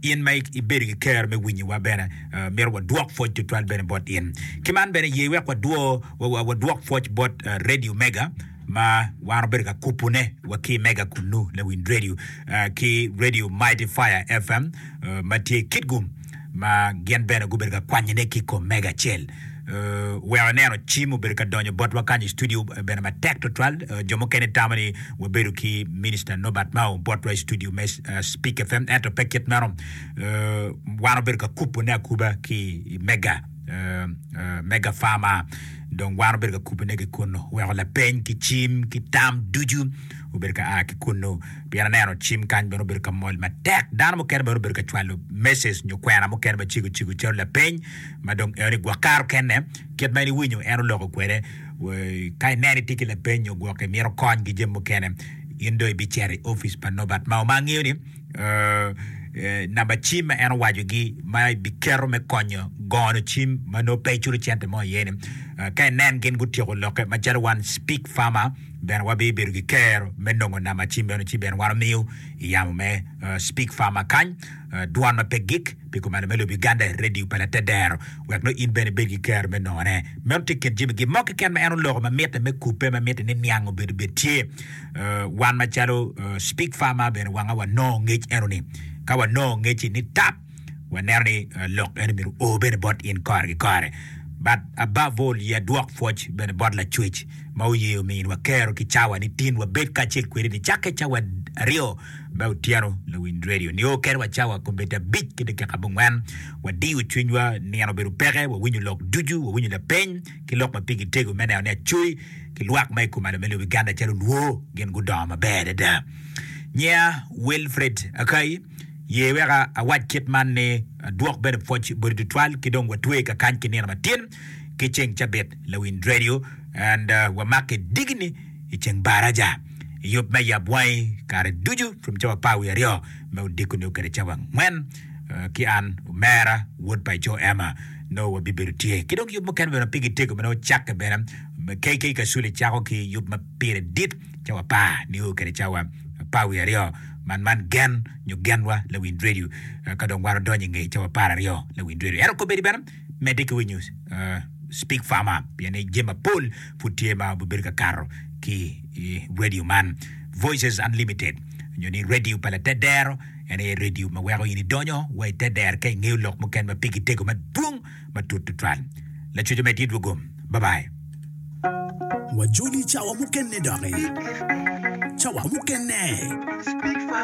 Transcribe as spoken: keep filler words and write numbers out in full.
In ma ibedo ki kero me winyowa bene, myero wadwok pwoc tutwal bene bot in. Ki man bene ye wek wadwo wadwok pwoc bot Radio Mega ma wan obedo ka kupone wa ki Mega kunnu lawiny radio ki Radio Mighty Fire F M ma tye i Kitgum, ma gin bene gubedo ka kwanyone ki i kom Mega acel. Weko ineno cim obedo ka donyo botwa kany i studio bene matek tutwal. Jo mukene tamo ni wabedo ki Minister Norbert Mao botwa i studio me Speak F M, ento pe kit meno. Wan obedo ka kupone akuba ki i Mega Mega Farmer, dong wan obedo ka kupone ki kunnu, weko lapeny ki cim ki tam ducu obedo ka a ki kunnu, pien aneno cim kany bene obedo ka mol matek. Dano mukene bene obedo ka cwalo message nyo kwena mukene macego cego calo lapeny ma dong eno ni gwok karo kene kit ma in iwinyo en oloko kwede. Ka ineno itye ki lapeny nyo gwok imito kony ki jami mukene, in dong ibicito i opic pa Norbert Mao, ma angeyo ni namba cim ma en owacogi ma ibiketo me konyo gono cim ma nongo pe iculo cente mo iye ni, ka inen gin gutyeko lokke macalo wan Speak Farmer bene wabibedo ki kero me nongo namba cim meno, ci bene wan omiyo i yamo me Speak Farmer kany, dwon ma pe gik pi kumalo me lobo Uganda, radio pa latedero, wek nongo in bene ibed ki kero me nongone. Meno tye kin jami gin mo keken ma en oloko ma mitte me kubbe, ma mitte ni niang obedo bed tye. Wan macalo Speak Farmer bene wanga wanongo ngec eno-ni. Ka wanongo ngec-ci ni tap, waneno ni lok eno myero o bene bot in kore ki kore. But above all, ye adwok pwoc bene bot Lacwec ma oye ominwa kero ki cawa ni tin wabed kacel kwede nicakke cawa aryo me otyeno lawiny radio nio kede wa cawa kombeddi abic ki dakika abongwen. Wadiyo cwinywa, nino obedo peke, wawinyo lok ducu, wawinyo lapeny ki lok ma pigi tego me neno ni acoyi ki lwak ma i kumalo me lobo Uganda calo lwor gin gudongo maber adada. Nyinga Wilfred Akai, ye wek awac kit man ni adwok bene pwoc boti tutwal ki dong watwe kakany ki nino matin ki ceng cabit lawiny radio and uh, wamake digini i ceng baraja i yub me yab wangi kare ducu from cawa apar wiye aryo me odiko nio kede cawa angwen uh, ki an omera wod pa ico Emma nongo wabibedo tye ki dong yub mukene bene ma pigi tego ma nongo cakke bene K K Kasule cako ki yub ma pire dit cawa apar nio kede cawa apar wiye aryo man man gen nyo genwa lawiny radio ka dong wan odonyo i nge cawa apar aryo lawiny radio ento kobedi bene medde ki winyo uh, Speak Farmer, pien ni jami mapol pud tye ma obibedo ka kato ki i radio man Voices Unlimited nyo ni radio pa latedero. En aye radio ma weko in idonyo wa i tedero ka ingeyo lok mukene ma pigi tego madwong matut tutwal. Lacuc omed tye dwogom. Bye bye. Wajoli cawa mukene doki. Cawa mukene.